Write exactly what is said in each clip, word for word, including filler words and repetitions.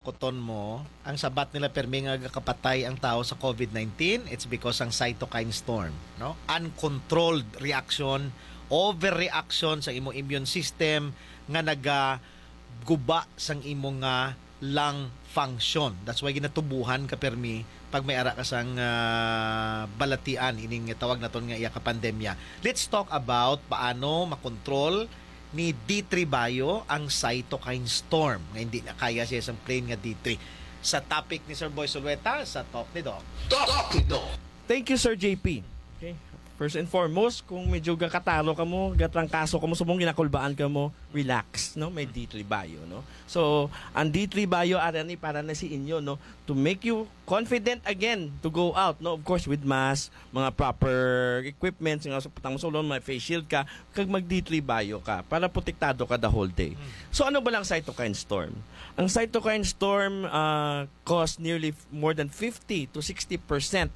Kuton mo, ang sabat nila permi nga gakapatay ang tao sa covid nineteen, it's because ang cytokine storm, no? Uncontrolled reaction, overreaction sa imong immune system nga nagaguba sang imo nga lung function. That's why ginatubuhan ka permi pag may ara ka sang, ah, balatian ining tawag naton nga iya ka pandemya. Let's talk about paano makontrol ni D three Bio ang cytokine storm, nga hindi na kaya siya sang plain nga D three. Sa topic ni Sir Boy Sulueta, sa Talk ni Doc. Talk ni Doc. Thank you, Sir J P. Okay. First and foremost, kung medyo gakataro ka mo, gatrangkaso ka mo, subong ginakulbaan ka mo, relax, no? May D three Bio, no? So, ang D three Bio, ara ni para na si inyo, no? To make you confident again to go out, no? Of course, with mask, mga proper equipments, nga sa patang sulon, may face shield ka, kag mag D three Bio ka, para protektado ka the whole day. Mm. So, ano ba lang cytokine storm? Ang cytokine storm, ah, cause nearly f-, more than fifty to sixty percent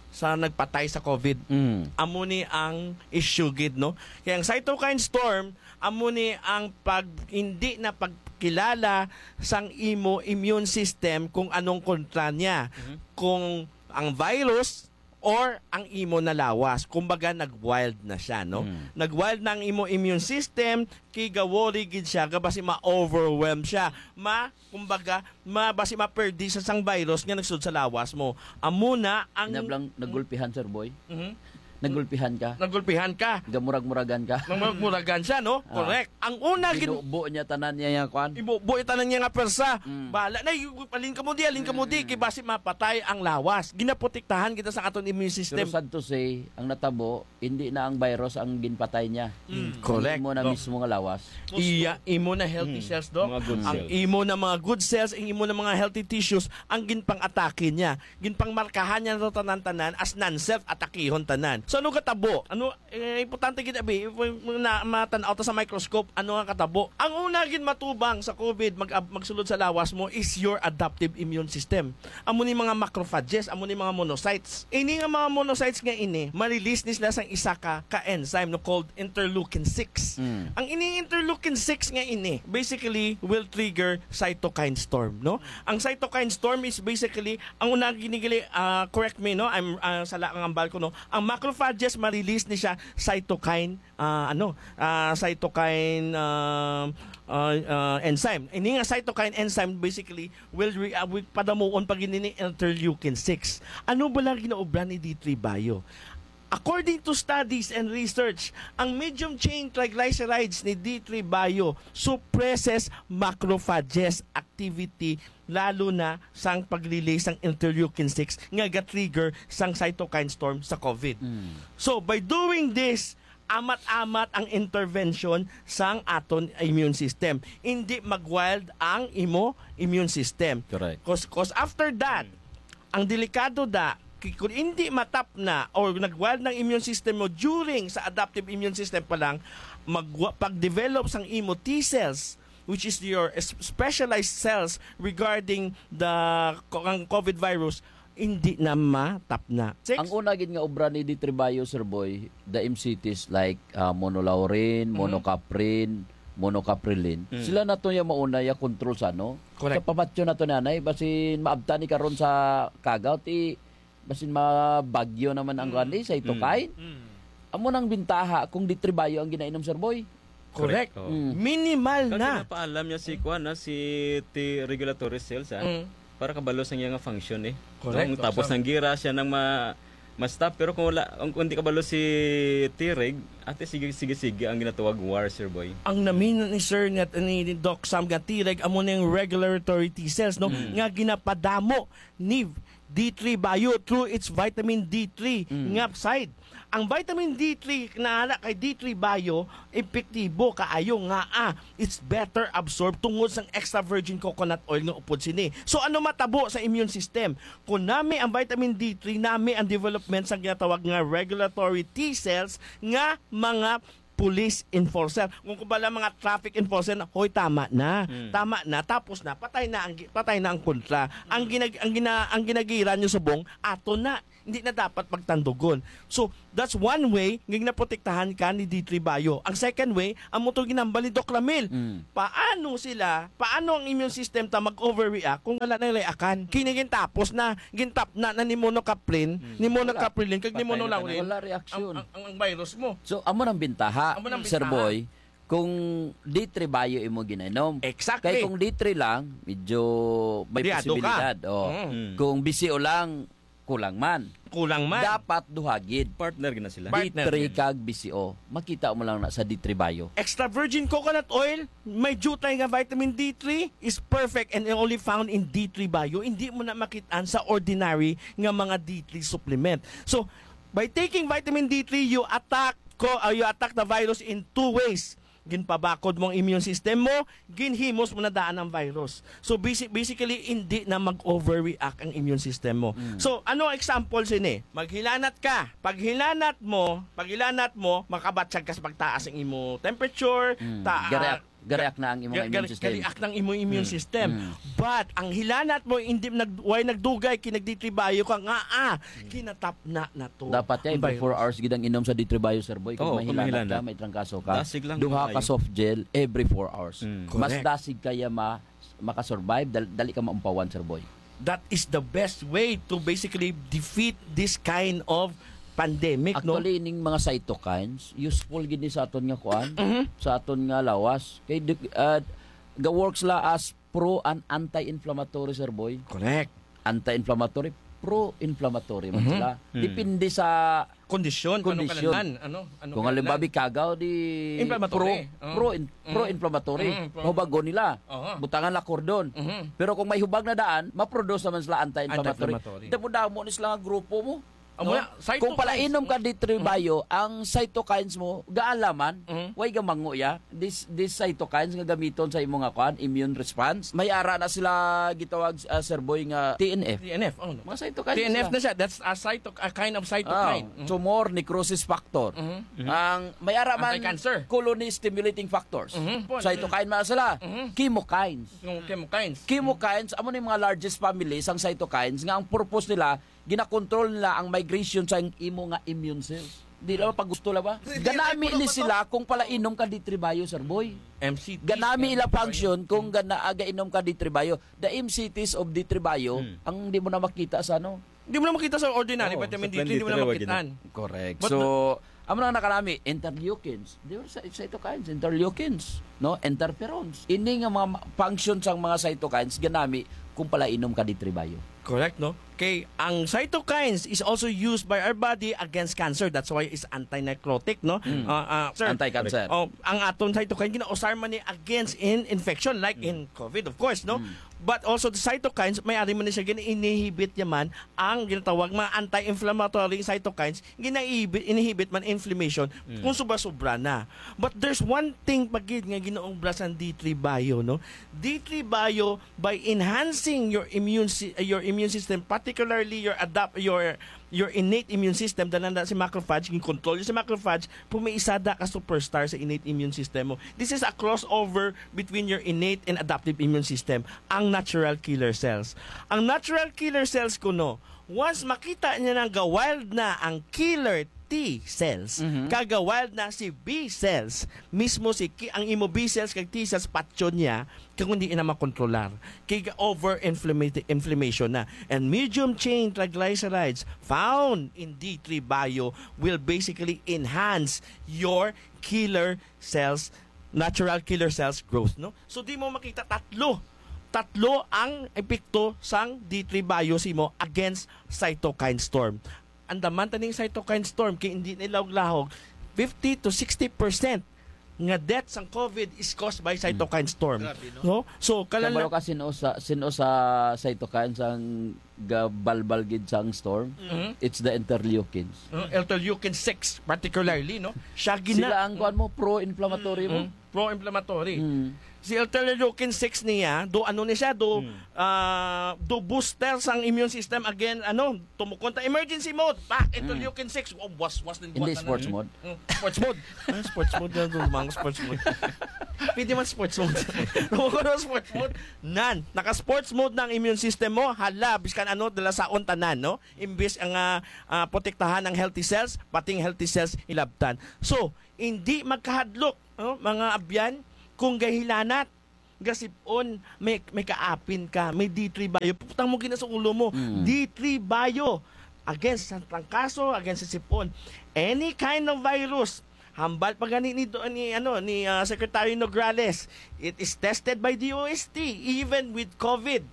sa nagpatay sa covid. Mm. Amo ni ang issue gid, no? Kaya ang cytokine storm, amo ni ang pag, hindi na pagkilala sang imo immune system kung anong kontra niya. Mhm. Kung ang virus or ang imo na lawas. Kumbaga, nag-wild na siya, no? Mm. Nag-wild na ang imo immune system, kay gawori gid siya, nga basi ma-overwhelm siya. Ma-, kumbaga, ma-, basi maperdi sa sang virus nga nagsulod sa lawas mo. Amo na ang Nablang, nagulpihan, Sir Boy. Mhm. Nagulpihan ka. Nagulpihan ka. Gamurag-muragan ka. Murag-muragan siya, no? Ah. Correct. Ang una, gin- Binubo niya tanan niya yung kwan. Ibubo yung tanan niya nga persa. Mm. Bala na, yung, alin ka mo di, alin ka mo di, Mm. kay basi mapatay ang lawas. Ginaprotektahan kita sa aton immune system. Pero sad to say, ang natabo, hindi na ang virus ang ginpatay niya. Mm. Correct. Hindi mo na Doc. Mismo nga lawas. Iya, imo na healthy Mm. cells, Doc. Mga good Ang cells. Imo na mga good cells, ang imo na mga healthy tissues, ang ginpang-atake niya. Ginpangmarkahan niya to tanan-tanan as non-self, atakihon tanan. So, ano katabo? Ano, eh, importante gid, abi, na matan-aw ta sa microscope, ano nga katabo? Ang una gid matubang sa covid, mag-, magsulod sa lawas mo is your adaptive immune system. Amo ni mga macrophages, amo ni mga monocytes. Ini nga mga monocytes nga ini, ma-release ni sila sang isa ka, ka enzyme, no, called interleukin six. Mm. Ang ini interleukin six nga ini, basically, will trigger cytokine storm, no? Ang cytokine storm is basically, ang una ginigili, ah, correct me, no? I'm, ah, sala ang ambal ko, no? Ang macrophages, ma-release ni siya cytokine, ah, ano, ah, cytokine, ah, ah, ah, enzyme. Ini nga cytokine enzyme, basically, will re-, ah, will padamuon pag ini ni interleukin six. Ano ba lang ginaobra ni D three Bio? According to studies and research, ang medium chain triglycerides ni D three Bio suppresses macrophages activity, lalo na sang pag-release sang interleukin six nga ga-trigger sang cytokine storm sa covid. Mm. So, by doing this, amat-amat ang intervention sang aton immune system. Hindi mag-wild ang imo immune system. Correct. Cause, cause after that, ang delikado da, ki-, kung hindi matap na or nag-wild ng immune system mo during sa adaptive immune system pa lang, magwa-, pag-develop sang imo T cells, which is your s-, specialized cells regarding the co-, ang covid virus, hindi na matap na. Six. Ang una gid nga obra ni D three Bio, Sir Boy, the M C Ts like, ah, monolaurin, Mm-hmm. monocaprin, monocaprilin. Mm. Sila na to yung mauna yung control sa ano? Correct. Sa pamatyo na to nanay, basin maabtan ni karon sa kagaw, ti, basin mabagyo naman ang Mm. kuwan, eh, sa ito Mm. kain. Mm. Amo nang bintaha kung D three Bio ang ginainom, Sir Boy. Correct. Correct, oo. Mm. Minimal Kag na. Pinapaalam niya si kuwan, na si T regulatory cells, ah, Mm. para kabalo sa iya nga function, eh. Correct. Kung tapos Sa ng gira siya nang ma-, ma-stop. Pero kung wala, kung, kung di kabalo si T-reg, ate, sige, sige, sige, ang ginatawag war, Sir Boy. Ang namin ni Sir nga, ni Doc Sam nga T-reg, amo na yung regulatory T cells, no? Mm. Nga ginapadamo ni D three Bio through its vitamin D three Mm. nga side. Ang vitamin D three na ana kay D three Bio, epektibo kaayo nga, ah, it's better absorbed tungod sang extra virgin coconut oil nga upod sini. So, ano matabo sa immune system? Kung nami ang vitamin D three, nami ang development sa ginatawag nga regulatory T cells nga mga police enforcer. Kung kumbaga mga traffic enforcer, na, "Hoy, tama na. Hmm. Tama na." Tapos na, patay na ang gi-, patay na ang kontra. Ang Hmm. ginag-, ang gina-, ang ginagira nyo subong, ato na. hindi na dapat magtandugon. So, that's one way nga ginaprotektahan ka ni D three Bio. Ang second way, amo to ginambal ni Doc Ramil. Mm. Paano sila, paano ang immune system ta mag-overreact kung wala na reakan? Kini gintapos na, gintapna na ni monocaprin, Mm. ni monocaprilin, kag ni Patay na monolaurin, tanan. Wala reaksyon. Ang, ang, ang, ang virus mo. So, amo nang bintaha, Amo nang Sir bintaha. Boy, kung D three Bio imo ginainom. Exactly. Kay kung D three lang, medyo may Dehydrate ka. posibilidad. Oh. Mm. Mm. Kung B C O lang, kulang man. Kulang man. Dapat duha gid. Partner gina sila. Partner D three gid. Kag B C O. Makita mo lang na sa D three Bio. Extra virgin coconut oil, may diutay nga vitamin D three, is perfect and only found in D three Bio. Hindi mo na makitaan sa ordinary nga mga D three supplement. So, by taking vitamin D three, you attack co-, uh, you attack the virus in two ways. Ginpabakod mo ang immune system mo, ginhimos mo na daan ang virus. So, basi-, basically, hindi na mag-overreact ang immune system mo. Mm. So, ano ang example sini? Maghilanat ka. Paghilanat mo, paghilanat mo, makabatyag ka sa pagtaas ang imo temperature, Mm. ta-, Gareak, gareak na ang imong ga-, immune ga-, system. Gareak ng imo immune Mm. system. Mm. But, ang hilanat mo, hindi nag-, way nagdugay, kinag-D three Bio ka nga, ah, Mm. kinatapna na to Dapat ang every virus. four hours gid ang inom sa D three Bio, Sir Boy. Kung Oo, kung mahilanat mahilanat. ka, may trangkaso ka, Dasig lang duha ka maayo. soft gel every four hours. Mm. Mas Correct. dasig kaya ma-, makasurvive, dal-, dali ka maumpawan, Sir Boy. That is the best way to basically defeat this kind of pandemic, no? Actually, ining mga cytokines, useful gid ni sa aton nga kuan, Mhm. sa aton nga lawas. Kay di-, ah, ga-work sila as pro and anti-inflammatory, Sir Boy. Correct. Anti-inflammatory, pro-inflammatory man Mhm. sila. Hmm. Depende sa Kondisyon, kung anong kondisyon. Kinahanglan, ano, anong Kung halimbawa, kinahanglan. Kagaw, di Inflammatory. pro, Oo. pro in-, Mm. pro-inflammatory. Mm, pro- Hubagon nila. Oo. Butangan la kordon. Mhm. Pero kung may hubag na daan, maproduce naman sila anti-inflammatory. Anti-inflammatory. Damo-damo ni sila nga grupo mo. Amo No? na, cytokines. Kung palainom ka D three Mm. Bio, ang cytokines mo, gaalaman, Mm. way gamango ya. This, this cytokines nga gamiton sa imo nga kuan, immune response. May ara na sila gitawag, ah, Sir Boy, nga T N F. T N F, oh, no. Mga cytokines T N F sila. na siya. That's a cyto-, a kind of cytokine. Ah, Mm. tumor necrosis factor. Mm. Ang may ara man Anti-cancer. colony stimulating factors. Mhm, po. Cytokine man sila. Mhm. Chemokines. Yung chemokines. Chemokines, amo ni mga largest family sang cytokines nga ang purpose nila, ginakontrol nila ang migration sa imo nga immune cells. Di lang pag gusto lang ba? Hindi, Ganami hindi, ni hindi, sila kung palainom ka D three Bio, Sir Boy. M C T, Ganami ila function kung gana-, gainom ka D three Bio. The M C Ts of D three Bio, Hmm. ang di mo na makita sa ano. Di mo na makita sa ordinary Oo, vitamin sa D three, di mo na twenty-three, wag yun. makitaan. Correct. But So, amo na nakalami, interleukins. Di ba sa cytokines, interleukins, no? Interferons. Ini nga mga ma-, function sang mga cytokines, ganami kung palainom ka D three Bio. Correct, no? Kay ang cytokines is also used by our body against cancer. That's why it's anti-necrotic, no? Mm. Ah, ah, sir. Anti-cancer. Oh, ang aton cytokine ginausar man ni against in infection, like Mm. in COVID, of course, no? Mm. But also the cytokines, may ari man ni siya gina-inhibit niya man ang ginatawag mga anti-inflammatory cytokines, gina-inhibit, inhibit man inflammation Mm. kung sobra-sobra na. But there's one thing pa gid nga ginaobra sang D three Bio, no? D three Bio, by enhancing your immune si-, your immune system, particularly your adapt-, your, your innate immune system, dala na si macrophage, ginkontrol si macrophage, pumiisada ka superstar sa innate immune system mo. This is a crossover between your innate and adaptive immune system, ang natural killer cells. Ang natural killer cells kuno, once makita niya nga ga-wild na ang killer T cells, Mhm. kag ga-wild na si B cells, mismo si ki-, ang imo B cells kag T cells patyon niya, kay kung di na makontrolar. Kay over inflammati-, inflammation na. And medium chain triglycerides found in D three Bio will basically enhance your killer cells, natural killer cells growth, no? So, di mo makita tatlo. Tatlo ang epekto sang D three Bio sa imo against cytokine storm. Andaman ta ning cytokine storm kay hindi na lahog-lahog, fifty to sixty percent nga death sang COVID is caused by cytokine storm. Grabe, no? No? So, Kabalo kalala- ka sino sa, sino sa cytokine sang gabalbal gid sang storm? Mhm. It's the interleukins. Uh, interleukin six particularly, no? Siya gina- Sila ang kuan mo, pro-inflammatory mo. Mm, pro-inflammatory. Mm. Si interleukin six niya, do ano ni siya, do, Hmm. ah, do booster sang immune system again, ano, tumukon ta, emergency mode, pak, Hmm. interleukin six, oh, was, was, din Hindi buhat na sports na. mode. Hmm, sports mode. Ah, sports mode na, do, mga sports mode. Pwede man sports mode. Tumukon ang sports mode. Nan, naka-sports mode na ang immune system mo, hala, biskan ano, dala saon tanan, no? Imbis ang, ah, ah, protektahan ang healthy cells, pating healthy cells, ilabtan. So, hindi magkahadlok, no, mga abyan, kung gahilanat, gasipon, may, may kaapin ka, may D three Bio. Putang mo gina sa ulo mo. Mm. D three Bio. Against sa trangkaso, against sa sipon. Any kind of virus. Hambal pa gani ni, ni, ano, ni, ah, Secretary Nograles, it is tested by D O S T, even with COVID.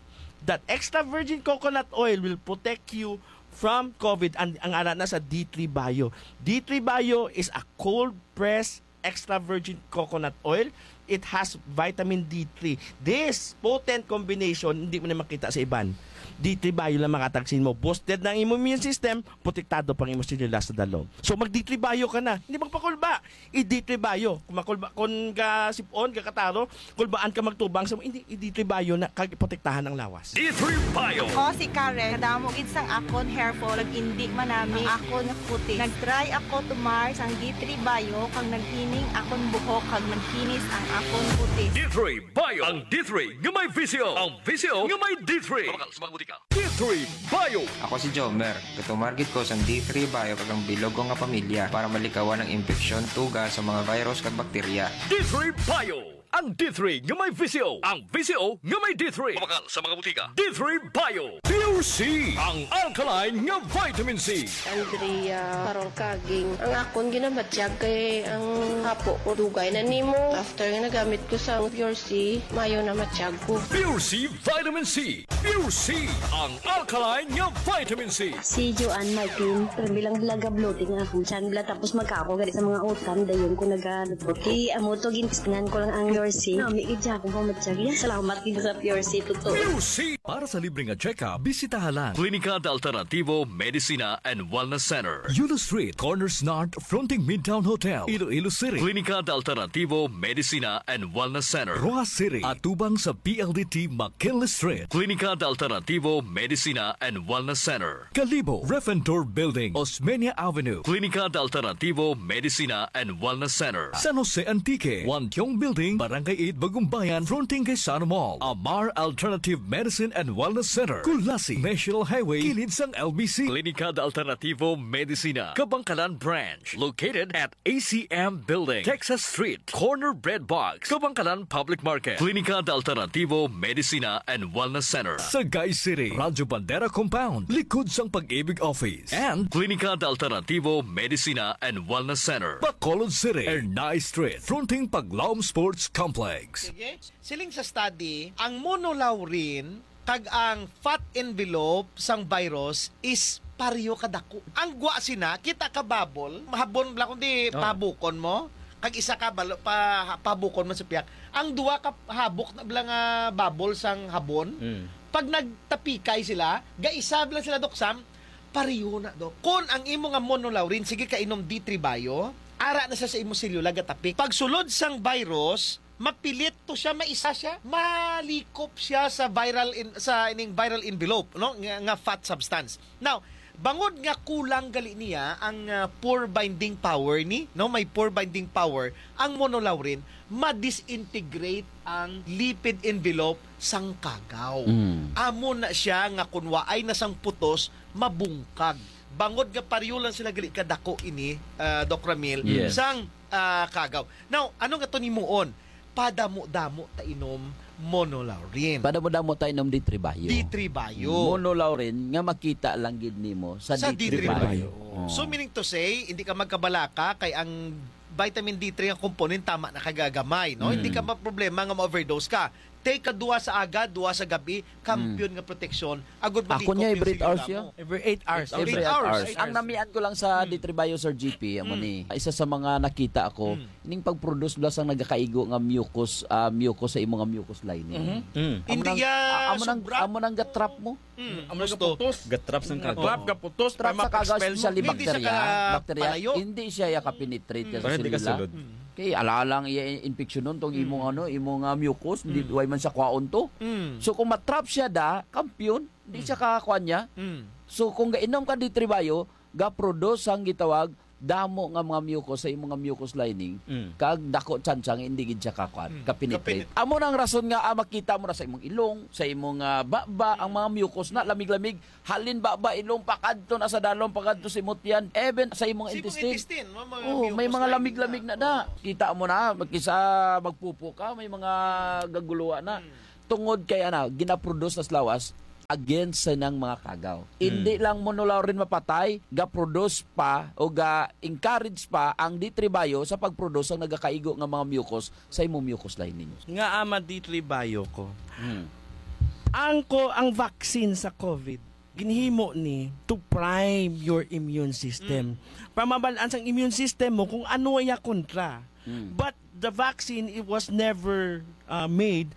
That extra virgin coconut oil will protect you from COVID. Ang, ang ara na sa D three Bio. D three Bio is a cold press extra virgin coconut oil. It has vitamin D three. This potent combination, hindi mo na makita sa iban. D three Bio lang makatagsin mo. Boosted na ang imong immune system, protektado pang imong selula sa dalom. So, mag D three Bio ka na. Hindi magpakulba. I D three Bio. Kung makulba, kung gasipon, gakataro, kulbaan ka magtubang sa, hindi, i D three Bio na, kag protektahan ang lawas. D three Bio. Ako si Karen. Kadamo gid sang akon hair fall, nag-indi manami ang akon kutis. Nag-try ako tumar sang D three Bio, kag naghining akon buhok, kag nagkinis ang akon kutis. D three Bio. Ang D three nga may V C O. Ang V C O nga may D three. Mabakal sa mga butika. D three Bio. Ako si Jomer. Gatumar gid ko sang D three Bio kag ang bilog ko nga pamilya para malikawan ang impeksyon, tuga sa mga virus kag bakterya. D three Bio. Ang D three nga may V C O. Ang V C O nga may D three. Mabakal sa mga butika. D three Bio. Pure C. Ang alkaline nga vitamin C. Andrea Parol Kaging. Ang akon ginamatyag kay ang hapo ko dugay na nimo. After nga nagamit ko sa Pure C, mayo na matyag ko. Pure C Vitamin C. Pure C, ang alkaline nga vitamin C. Si Joanne Martin, pero bilang dalaga bloating ang akong tiyan bala, tapos magkaako gani sa mga utan, dayon ko nagalupot. Kay amo to, gintistingan ko lang ang Pure C. Nami gid siya akong pamatyag. Yan, salamat gid sa Pure C, totoo. Pure C. Para sa libre nga check-up, bisitaha lang Klinika de Alternativo Medicina and Wellness Center, Yulo Street, Corners North, fronting Midtown Hotel, Iloilo City. Klinika de Alternativo Medicina and Wellness Center, Roxas City, atubang sa P L D T McKinley Street. Klinika de Alternativo Medicina and Wellness Center, Kalibo, Ref and Tour Building, Osmeña Avenue. Klinika de Alternativo Medicina and Wellness Center, San Jose Antique, Wantiong Building, Barangay eight, Bagumbayan, fronting kay Sano Mall. Amar Alternative Medicine and Wellness Center, Culasi, National Highway, kilid sang L B C. Klinika de Alternativo Medicina, Kabangkalan Branch, located at A C M Building, Texas Street, corner Bread Box, Kabangkalan Public Market. Klinika de Alternativo Medicina and Wellness Center, Sagay City, Radyo Bandera Compound, likod sang Pag-ibig Office. And Klinika de Alternativo Medicina and Wellness Center, Bacolod City, Ernai Street, fronting Paglaom Sports Complex. Sige. Siling sa study, ang monolaurin kag ang fat envelope sang virus is pareho kadako. Ang gwa sina, kita ka bubble, mahabon bala kundi Oh. pabukon mo, kag isa ka balo, pa, pabukon mo sa piyak. Ang duwa ka habok na bala nga bubble sang habon, Mm. pag nagtapikay sila, gaisa bala sila, Doc Sam, pareho na, Doc. Kon ang imo nga monolaurin, sige ka inom D three Bio, ara na siya sa imo selula, gatapik. Pagsulod sang virus, mapilit to siya, maisa siya, malikop siya sa viral in-, sa ining viral envelope, no, nga, nga fat substance. Now, bangod nga kulang gali niya ang, ah, pore binding power ni, no, may pore binding power ang monolaurin, ma-disintegrate ang lipid envelope sang kagaw. Mm. Amo na siya nga kun waay na sang putos, mabungkag. Bangod nga pareho lang sila gali kadako ini, ah, Doc Ramil, Yes. sang, ah, kagaw. Now, ano nga to nimuon? Padamo-damo ta inom monolaurin. Padamo-damo ta inom D three Bio. D three Bio. Monolaurin nga makita lang gid nimo sa Sa D three Bio. D three Bio. Oh. So, meaning to say, hindi ka magkabalaka kay ang vitamin D three nga component tama na kagagamay, no? Mm. Hindi ka maproblema nga ma-overdose ka. Take ka duha sa aga, duha sa gabi, kampiyon Mm. nga proteksyon. Agud Ako malikop niya, yung every eight hours selula siya. mo. Every eight hours. Every Every eight eight hours. hours. Ang namian ko lang sa Mm. D three Bio, Sir G P, amo Mm. ni. Isa sa mga nakita ako, Mm. ning pag-produce bala sang nagakaigo nga mucus, ah, mucus sa imo nga mucus lining. Mhm. Mm. Amo Hindi nang, ya ah, amo nang, sobra. amo nang ga-trap mo. Mm, Amo nang gusto. gaputos. Gatrap sang Mm. kagaw. Trap, gaputos, Trap pa sa kagaw, mapa-expel mo. especially Hindi siya bakterya. ka Bakterya, palayo. hindi siya ya ka-penetrate Mm. sa Para hindi ka selula. sulod. Mm. Kay ala lang iya in-, infeksyonon tong imong, Mm. ano, imong, ah, mucus, di, Mm. way man siya kwaon to. Mm. So, kung matrap siya da, kampiyon, di Mm. siya kakakuan niya. Mm. So, kung gainom ka D three Bio, ga-produce ang gitawag damo nga mga mucus sa imong nga mucus lining, Mm. kag dako tsansa nga hindi gid siya kakuan, Mm. kapenetrate. Kapenet- Amo nang rason nga, ah, makita mo na sa imong ilong, sa imong, ah, baba, ang mga mucus na lamig-lamig, halin baba, ilong, pakadto na sa dalom, pakadto sa imutyan, even sa imong Sa imong intestine. intestine, ma-, mga Oh, may mucus mga lining lamig-lamig na. na da. Oo. Kita mo na, magkisa magpupo ka, may mga gaguluwa na. Mm. Tungod kay, ana, ginaproduce na sa lawas against sa nang mga kagaw. Mm. Hindi lang monolaurin mapatay, ga-produce pa o ga-encourage pa ang D three Bio sa pag-produce ang nagakaigo nga mga mucus sa imong mucus lining. Nga ama D three Bio ko. Mm. Ang ko, ang vaccine sa COVID, ginhimo ni to prime your immune system. Mm. Para mabal-an sang immune system mo kung ano iya kontra. Mm. But the vaccine, it was never, uh, made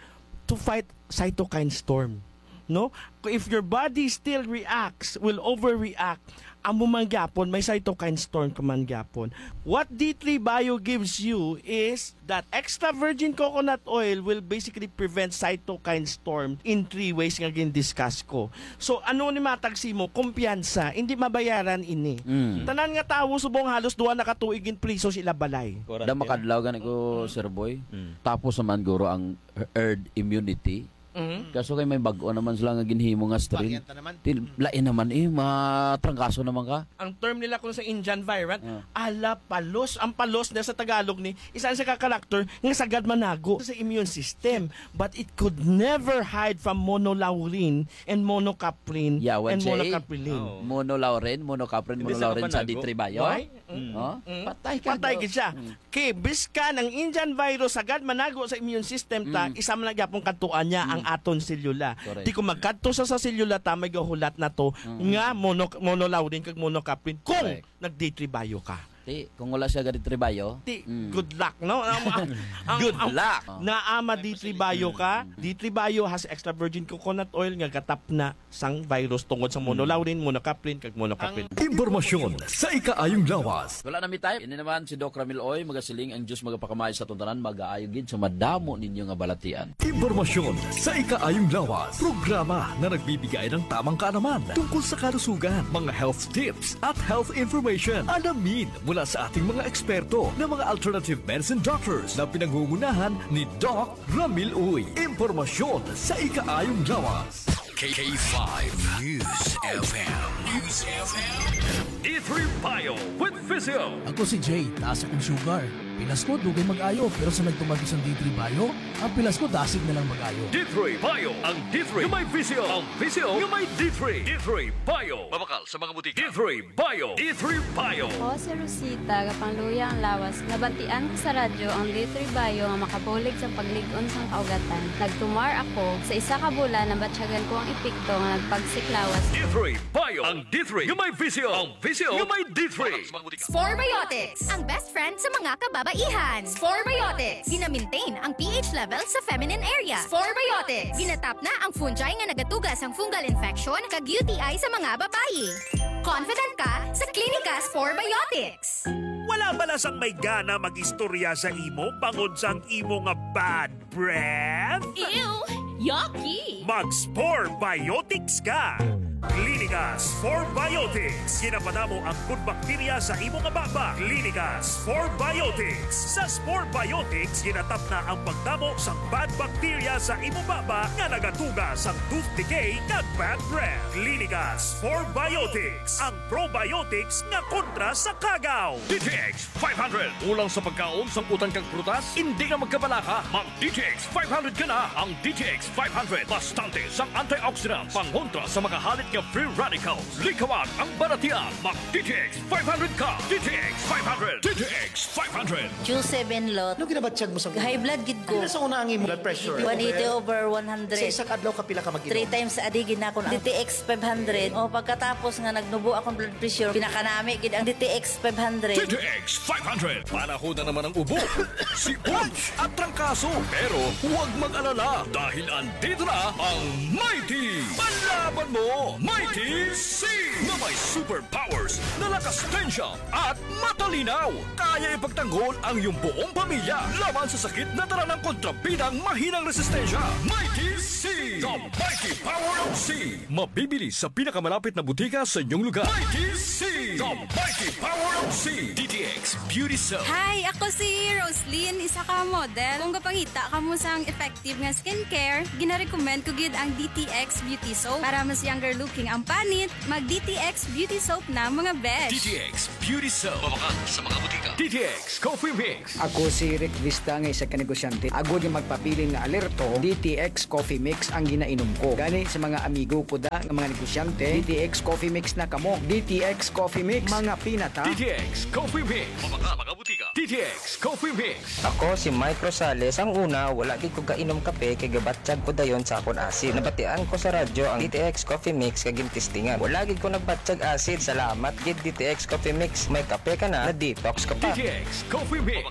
to fight cytokine storm. No? If your body still reacts, will overreact, amo man gyapon, may cytokine storm ka man gyapon. What D three Bio gives you is that extra virgin coconut oil will basically prevent cytokine storm in three ways nga gin-discuss ko. So, ano ni matag simo? Kumpiyansa, hindi mabayaran ini. Mm. Tanan nga tawo subong halos duha na ka tuig in priso sila balay. Correct. Da makadlaw gani ko, Mm. Sir Boy. Mm. Tapos naman guro ang herd immunity. Mhm. Kaso kay may bag-o naman sila nga ginhimo nga strain. Variant na naman. Til-, Mm. lain naman eh, matrangkaso naman ka. Ang term nila kung sa Indian variant, Ah. ala palos. Ang palos na sa Tagalog ni, isa sa ka-character nga sagad manago sa immune system. But it could never hide from monolaurin and monocaprin Yeah, and once eh. monocaprilin. Oo. Monolaurin, monocaprin, Hindi sa monolaurin sa kabanago. D three Bio. Why? Mm. Oh? Mm. Patay ka, Patay no? gid siya. Mm. Kay biskan ang Indian virus sagad manago sa immune system ta, Mm. isa man lang gyapon kadtuan niya ang Mm. aton selula. Correct. Di kung magkadto sa, sa selula ta, may gahulat na to Mm. nga mono-, monolaurin kag monocaprin kung Correct. nag-D three Bio ka. Di, kung wala siya ga-D three Bio, Di, mm. good luck, no? Ang, ang, Good ang, luck. Naa ma-D three Bio ka, Mm. D three Bio has extra virgin coconut oil nga gatap na sang virus tungod sa Mm. monolaurin, monocaprin, kag monocaprin. Impormasyon sa ikaayong lawas. Wala na mi time. Ini naman si Doc Ramil Uy, magasiling ang Diyos magapakamay sa atong tanan, magaayo gid sa madamo ninyo nga balatian. Impormasyon sa ikaayong lawas. Programa na nagbibigay ng tamang kaalaman tungkol sa kalusugan, mga health tips, at health information. Alamin mula sa ating mga eksperto na mga alternative medicine doctors na pinangungunahan ni Doc Ramil Uy. Impormasyon sa ikaayong lawas. K five News F M. News F M. D three Bio with Physio. Ako si Jay, taas akong sugar. Pilas ko, dugay mag-ayo, pero sa nagtuman ko sang D three Bio, ang pilas ko dasig na lang mag-ayo. D three Bio, ang D three nga may Physio, ang Physio nga may D three. D three Bio. Mabakal sa mga butika. D three Bio. D three Bio. Ako si Rosita, gapangluya ang lawas. Nabantian ko sa radyo ang D three Bio nga makabulig sa paglig-on sang kaugatan. Nagtumar ako sa isa ka bulan, nabatyagan ko ang epekto nga nagpagsik lawas. D three Bio. Ang D three nga may Physio. Ang Physio nga may D three. Spore Biotics, ang best friend sa mga kababaihan. Spore Biotics, gina-maintain ang P H level sa feminine area. Spore Biotics, ginatap na ang fungi nga nagatuga sang fungal infection kag U T I sa mga babayi. Confident ka sa Klinika Spore Biotics. Wala bala sang may gana mag-istorya sa imo bangod sang imo nga bad breath? Ew! Yucky! Mag-Spore Biotics ka! Klinika Spore Biotics. Ginapadamo ang good bacteria sa imo nga baba. Klinika Spore Biotics. Sa Spore Biotics, ginatap na ang pagdamo sang bad bacteria sa imo baba nga nagatuga sang tooth decay kag bad breath. Klinika Spore Biotics, ang probiotics nga kontra sa kagaw. D T X five hundred. Kulang sa pagkaon, sang utan kag prutas? Hindi na magkabalaka. Mag D T X five hundred ka na. Ang D T X five hundred, bastante sang antioxidants, pangontra sa mga halit nga free radicals. Likawan ang balatian. Mag D T X five hundred ka. D T X five hundred. D T X five hundred. Q seven lot. Ano ginabatyag mo sa High blood gid ko. Ano sa una ang imo blood pressure? One eighty over one hundred. Sa isa ka adlaw, kapila ka mag-inom? Three times a day gid na ako. D T X five hundred. O, pagkatapos nga nagnubo akong blood pressure, pinakanami gid ang D T X five hundred. D T X five hundred. Panahon na naman ang ubo, sipon, at trangkaso. Pero huwag mag-alala dahil andito na ang Mighty Panlaban! mo, Mighty C, na may superpowers na lakas, tensya at matalinaw. Kaya ipagtanggol ang iyong buong pamilya laban sa sakit na dala ng kontrabidang mahinang resistensya. Mighty C, the mighty power of C. Mabibili sa pinakamalapit na butika sa inyong lugar. Mighty C, the mighty power of C. D T X Beauty Soap. Hi, ako si Roslyn, isa ka model. Kung gapangita ka mo sang effective nga skincare, ginarecommend ko gid ang D T X Beauty Soap. Para mas younger looking ang panit, mag D T X Beauty Soap na, mga besh. D T X Beauty Soap. Mabakal sa mga butika. D T X Coffee Mix. Ako si Rick Vista nga isa ka negosyante. Agod nga magpabilin nga alerto, D T X Coffee Mix ang ginainom ko. Gani sa mga amigo ko da nga mga negosyante, D T X Coffee Mix na kamo. D T X Coffee Mix, mga pinata. D T X Coffee Mix. Mabakal sa mga butika. D T X Coffee Mix. Ako si Mike Rosales. Ang una, wala gid ko kainom kape kay gabatyag ko dayon sa akon asid. Nabatian ko sa radyo ang D T X Coffee Mix kag gintistingan. Wala gid ko nagbatyag asid. Salamat gid D T X Coffee Mix. May kape ka na, na-detox ka pa. D T X Coffee Mix.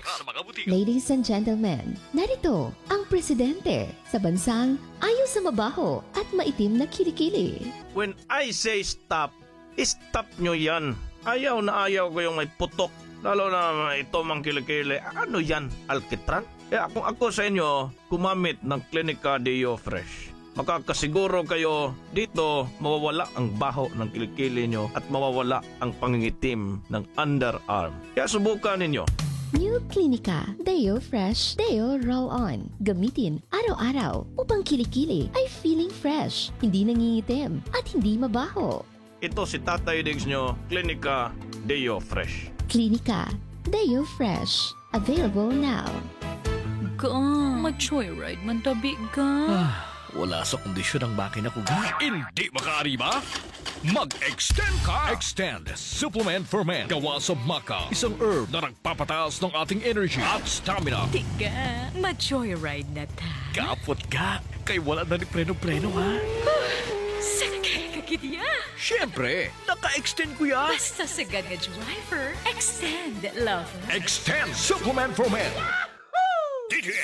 Ladies and gentlemen, narito ang presidente sa bansang ayo sa mabaho at maitim na kilikili. When I say stop, stop nyo yan. Ayaw na ayaw ko yung may putok. Lalo na ito mang kilikili. Ano yan? Alkitran? Kaya kung ako sa inyo, gumamit ng Clinica Deo Fresh. Makakasiguro kayo dito mawawala ang baho ng kilikili nyo at mawawala ang pangingitim ng underarm. Kaya subukan ninyo. New Clinica Deo Fresh Deo Roll On. Gamitin araw-araw upang kilikili ay feeling fresh, hindi nangingitim, at hindi mabaho. Ito si Tatay Diggs nyo, Clinica Deo Fresh. Clinica Deo Fresh. Available now. Ga, ma-joyride man tabi, ga. Ah, wala sa kondisyon ang makina ko, ga. Hindi makaariba? Mag-extend ka! Extend Supplement for Men. Gawa sa maca, isang herb na nagpapataas ng ating energy at stamina. Tiga, ma-joyride na ta. Kapot ka, kay wala na ni preno-preno, ha? Sakay ka gid ya. Siyempre, naka-extend ko ya. Basta sagad nga driver, extend, lover. Extend Supplement for Men. D T X